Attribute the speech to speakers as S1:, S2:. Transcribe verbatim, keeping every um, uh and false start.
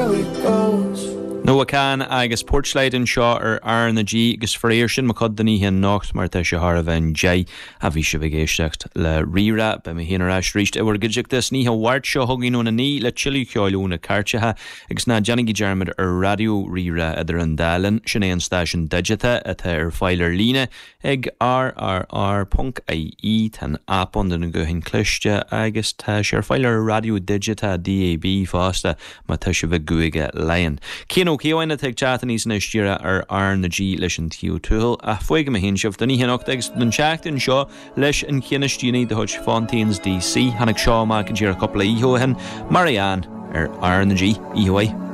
S1: how it goes.
S2: Noah Kahan agus Porchlight anseo ar R na G agus faraor sin mo chuid don oíche anocht mar tá sé thar a bheith deich a bhí sibh ag éisteacht le Rí-Rá beidh mé féin ar ais arís i bhur gcuideachta san oíche Mháirt seo chugainn óna naoi le tuilleadh ceoil ó na cairteacha agus ná déanaigí dearmad ar Raidió Rí-Rá idir an dá linn sin é an stáisiún digiteach atá ar fáil ar líne ag rrr.ie tá an app ann do na gutháin chliste agus tá sé ar fáil ar raidió digiteach DAB fosta má tá sibh i gCúige Laighean. Cian Ó Ciabháin atá ag teacht aníos anois díreach ar R na G leis an Taobh Tuathail ach fágfaidh mé féin sibh don oíche anocht agus don tseachtain seo leis an cheann is déanaí de chuid Fontaines DC tháinig seo amach go díreach cúpla oíche ó shin Marianne ar R na G Oíche mhaith.